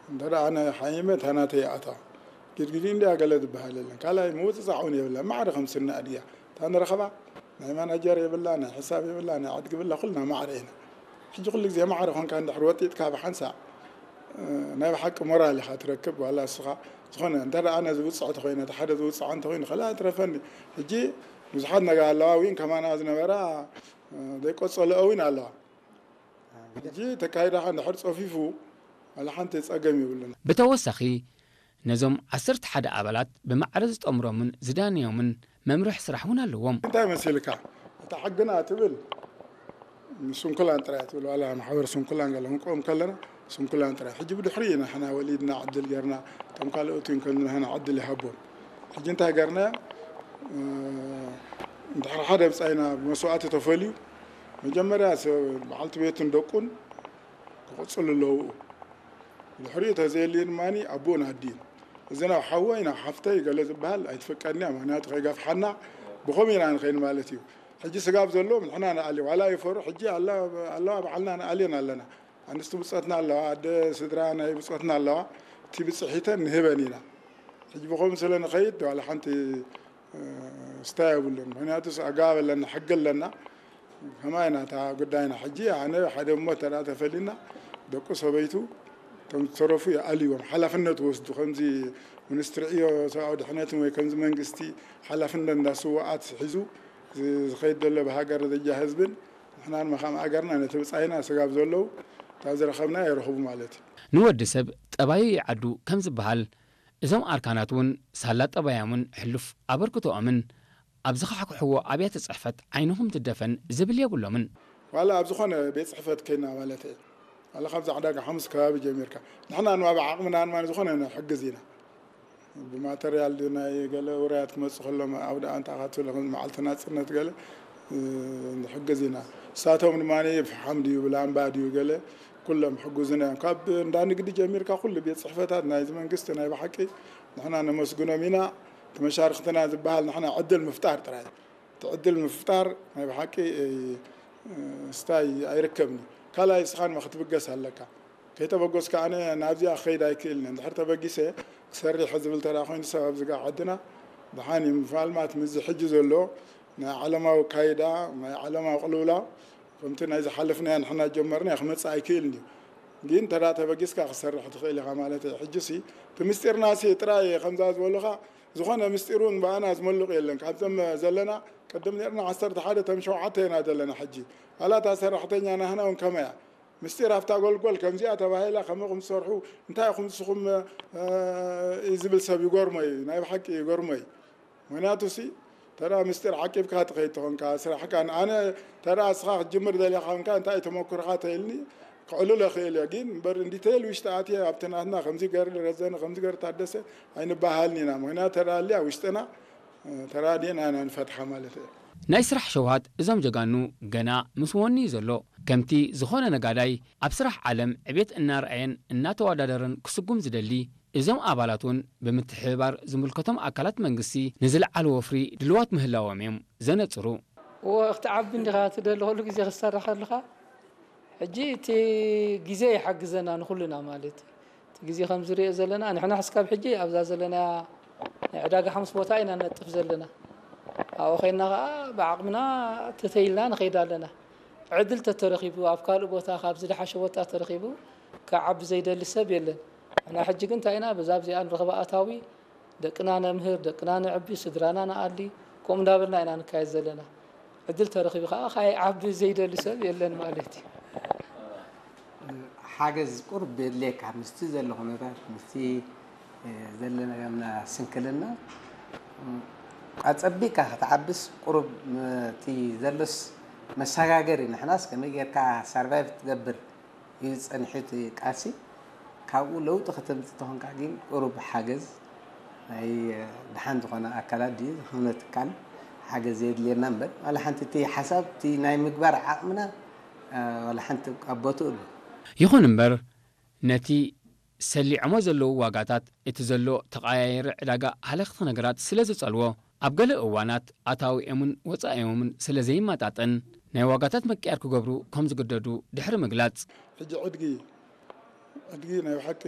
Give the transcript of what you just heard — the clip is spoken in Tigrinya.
እንተ ደኣ ኣነ ሓይመ እታ ናተይ ኣታ ግድግዲ እንድያ ገለ ዝበሃል የለን። ካልኣይ ምውፅፃዕ እውን የብላ። ማዕረ ከም ስና ኣድያ እታ ንረኸባ ናይ ማናጀር የብላ፣ ናይ ሕሳብ የብላ፣ ናይ ዕድጊ የብላ፣ ኩልና ማዕረ ኢና። ሕጂ ኩሉ ግዜ ማዕረ ኮንካ እንድሕር ወጢጥካ ብሓንሳእ፣ እ፣ ናይ ብሓቂ ሞራል ኢኻ ትረክብ። ዋላ እስኻ ዝኾነ እንተ ደኣ ኣነ ዝውፅዕ ተኾይነ፣ እቲ ሓደ ዝውፅዓ እንተኾይኑ፣ ካልኣ ትረፈኒ። ሕጂ ብዙሓት ነጋ ኣለዋ፣ እውን ከማና ዝነበራ፣ እ፣ ዘይቆጸለኦ እውን ኣለዋ። ሕጂ ተካይዳኻ እንድሕር ጸፊፉ፣ ዋላ ሓንቲ ጸገም የብሉን። ብተወሳኺ፣ ነዞም ዓሰርተ ሓደ ኣባላት ብማዕረ ዝጠምሮምን ዝዳንዮምን መምርሒ ስራሕ እውን ኣለዎም። እንታይ መሲልካ? እታ ሕግና ትብል ስንኩላን ጥራይ ትብል፣ ዋላ ማሕበር ስንኩላን ገለ ክንቆም ከለና ስንኩላን ጥራይ። ሕጂ ብድሕሪ ኢና ንሕና ወሊድና ዕድል ጌርና፣ እቶም ካልኦት እውን ከም ንሕና ዕድል ይሃቦም። ሕጂ እንታይ ጌርና? እ፣ እንድሕር ሓደ ብጻይና ብመስዋእቲ ተፈልዩ፣ መጀመርያ ሰብ በዓልቲ ቤቱን ደቁን ክቕጽሉ ኣለዉ። ድሕሪኡ ተዘየልዩ ድማ ኣቦኡን ኣዲኡን። እዚ ናብ ሓወይ ናብ ሓፍተይ ገለ ዝበሃል ኣይትፍቀድን እያ፣ ምኽንያቱ ከይገፍሓና ብኸምኡ ኢና ንኸይድ ማለት እዩ። ሕጂ ስጋብ ዘለዎም ንሕና ንኣሊ፣ ዋላ ይፈሩ፣ ሕጂ ኣላ-፣ ኣለዋ ባዕልና ንኣልየን ኣለና። ኣንስቲ ብጾትና ኣለዋ፣ ኣደ ስድራ ናይ ብጾትና ኣለዋ፣ እቲ ብጽሒተን ንህበን ኢና። ሕጂ ብኸምኡ ስለ ንኸይድ ዋላ ሓንቲ፣ እ፣ ስታይ የብሉን። ምኽንያቱስ ኣገባብ ኣለና፣ ሕጊ ኣለና። ከማይ ናታ ጉዳይና። ሕጂ ኣነ ሓደ እሞ እንተ ደኣ ተፈሊና፣ ደቁ ሰበይቱ፣ እቶም ዝተረፉ ይኣልይዎም፣ ሓላፍነት ወስዱ። ከምዚ ሚኒስትሪ ዕዮ ሰብኣዊ ድሕነትን ወይ ከምዚ መንግስቲ ሓላፍነት እንዳ ስውኣት ሒዙ ዝ-፣ ዝኸይድ ዘሎ ብሃገር ደረጃ ህዝብን ንሕና ድማ ከም ኣገርና ነቲ ብጻይና ስጋብ ዘለዉ እታ ዝረኸብና የረኽቡ ማለት እዩ። ንወዲ ሰብ ጠባዩ ይዓዱ ከም ዝበሃል፣ እዞም ኣርካናት እውን ሳላ ጠባዮምን ሕሉፍ ኣበርክቶኦምን ኣብ ዝኻሕክሕዎ ኣብያተ ጽሕፈት ዓይንኹም ትደፈን ዝብል የብሎምን። ዋላ ኣብ ዝኾነ ቤት ጽሕፈት ከይና ማለት እየ። ዋላ ካብዚ ዕዳጋ ሓሙስ ከባቢ ጀሚርካ። ንሕና ድማ ብዓቕምና ድማ ዝኾነ ንሕግዝ ኢና። ብማተርያል ድዩ ናይ ገለ ውራያት ክመጹ ከሎም ኣብ ደኣ እንታይ ኢኻ ትብሎ፣ ከም መዓልቲ ናጽነት ገለ፣ እ፣ ንሕግዝ ኢና። ንሳቶም ድማ ፍሓም ድዩ ብላምባ ድዩ ገለ ኩሎም ሕጉዝና እዮም። ካብ እንዳ ንግዲ ጀሚርካ ኩሉ ቤት ጽሕፈታት ናይዚ መንግስቲ ናይ ብሓቂ ንሕና ነመስግኖም ኢና። እቲ መሻርኽትና ዝበሃል ንሕና ዕድል ምፍጣር ጥራይ። እቲ ዕድል ምፍጣር ናይ ብሓቂ፣ እ፣ ስታይ ኣይርከብን እዩ። ካልኣይ እስኻ ድማ ክትብገስ ኣለካ። ከይተበገስካ ኣነ ናብዚኣ ክኸይድ ኣይክእልን እየ። እንድሕር ተበጊሰ ክሰርሕ ዝብል ተራ ኮይኑ ሰብ ኣብዚ ጋር ዓድና ደሓን እዩ። ምናልባት ምስዚ ሕጂ ዘሎ ናይ ዓለማዊ ካይዳ፣ ናይ ዓለማዊ ቅልውላው ከምቲ ናይ ዝሓለፍናዮ ንሕና ጀመርናዮ ክመጽእ ኣይክእልን እዩ። ግን እንተ ደኣ ተበጊስካ ክሰርሕ ትኽእል ኢኻ ማለት እዩ። ሕጂሲ እቲ ምስጢርናሲ ጥራይ ከምዛ ዝበሉኻ ዝኾነ ምስጢር እውን ብኣና ዝመልቕ የለን። ካብዞም ዘለና ቅድም ነርና ዓሰርተ ሓደ፣ እቶም ሸውዓተ ኢና ዘለና ሕጂ። ዋላ እታ ሰራሕተኛ ናህና እውን ከመይ እያ? ምስጢር ኣብታ ጎልጎል ከምዚኣ ተባሂላ ከመይ ኢኹም ትሰርሑ? እንታይ ኢኹም ንስኹም፣ እ፣ እዩ ዝብል ሰብ ይገርሞ እዩ። ናይ ብሓቂ ይገርሞ እዩ። ምኽንያቱ ሲ ተራ ምስጢር ዓቂብካ ትኸይድ ተኾንካ ስራሕካ፣ ኣነ ተራ እስኻ ክትጅምር ደሊኻ ኮንካ እንታይ ተመኩርካ ተይልኒ ክዕልሎ ክእል እየ። ግን እምበር እንዲተይል ውሽጢ ኣትየ ኣብቲ ናትና ከምዚ ገር ረዘነ ከምዚ ገር ታደሰ ኣይንበሃልን ኢና። ምኽንያቱ ተራ ኣልያ ውሽጥና፣ እ፣ ተራዲእና ኢና ንፈትሓ ማለት እየ። ናይ ስራሕ ሸውሃት እዞም ጀጋኑ ገና ምስ ወኒ እዩ ዘሎ። ከምቲ ዝኾነ ነጋዳይ ኣብ ስራሕ ዓለም ዕቤት እናርኣየን እናተወዳደረን ክስጉም ዝደሊ፣ እዞም ኣባላት እውን ብምትሕብባር ዝምልከቶም ኣካላት መንግስቲ ንዝለዓለ ወፍሪ ድልዋት ምህላዎም እዮም ዘነጽሩ። እወ፣ ክትዓቢ እንዲኻ ትደሊ፣ ኩሉ ግዜ ክትሰርሕ ከለኻ። ሕጂ እቲ ግዜ ይሓግዘና ንኹልና ማለት እዩ። እቲ ግዜ ከም ዝሪኦ ዘለና፣ ንሕና እስካብ ሕጂ ኣብዛ ዘለናያ ናይ ዕዳጋ ሓሙስ ቦታ ኢና ነጥፍ ዘለና። ኣብኡ ኸይድና ኸዓ ብዓቕምና ተተይልና ንኸይድ ኣለና። ዕድል ተተረኺቡ፣ ኣብ ካልእ ቦታ፣ ካብ ዝደሓሸ ቦታ ተረኺቡ፣ ክዓቢ ዘይደሊ ሰብ የለን። ንሕና ሕጂ ግን እንታይ ኢና፣ በዛ ኣብዚኣ ንረኽባ ኣታዊ፣ ደቅና ነምህር፣ ደቅና ነዕቢ፣ ስድራና ንኣሊ፣ ከምኡ እንዳበልና ኢና ንካየድ ዘለና። ዕድል ተረኺቡ ኸዓ ካይዓቢ ዘይደሊ ሰብ የለን ማለት እዩ። ሓገዝ ቁሩብ የድልየካ፣ ምስቲ ዘሎ ኩነታት፣ ምስቲ፣ እ፣ ዘለና ስንክልና፣ እ፣ ኣጸቢቕካ ክትዓብስ ቁሩብ፣ እ፣ እቲ ዘሎስ መሰጋገሪ፣ ንሕናስ ከመይ ጌርካ ሰርቫይቭ ትገብር እዩ ጸኒሑ እቲ ቃልሲ። ካብኡ ለውጢ ከተምጽእ ተኾንካ ግን ቁሩብ ሓገዝ ናይ፣ እ፣ ደሓን ዝኾነ ኣካላት ድዩ ዝኾነ ትካል ሓገዝ የድልየና እምበር፣ ዋላ ሓንቲ እቲ ሓሳብ እቲ ናይ ምግባር ዓቕምና፣ እ፣ ዋላ ሓንቲ ኣብ ቦትኡ ኣሎ። ይኹን እምበር፣ ነቲ ሰሊዖሞ ዘለዉ ዋጋታት፣ እቲ ዘሎ ተቐያየሪ ዕዳጋ ሃለኽቲ ነገራት ስለ ዝጸልዎ፣ ኣብ ገለ እዋናት ኣታዊኦምን ወጻኢኦምን ስለ ዘይመጣጠን፣ ናይ ዋጋታት ምቅያር ክገብሩ ከም ዝግደዱ ድሕሪ ምግላጽ፣ ሕጂ ዕድጊ፣ ዕድጊ ናይ ብሓቂ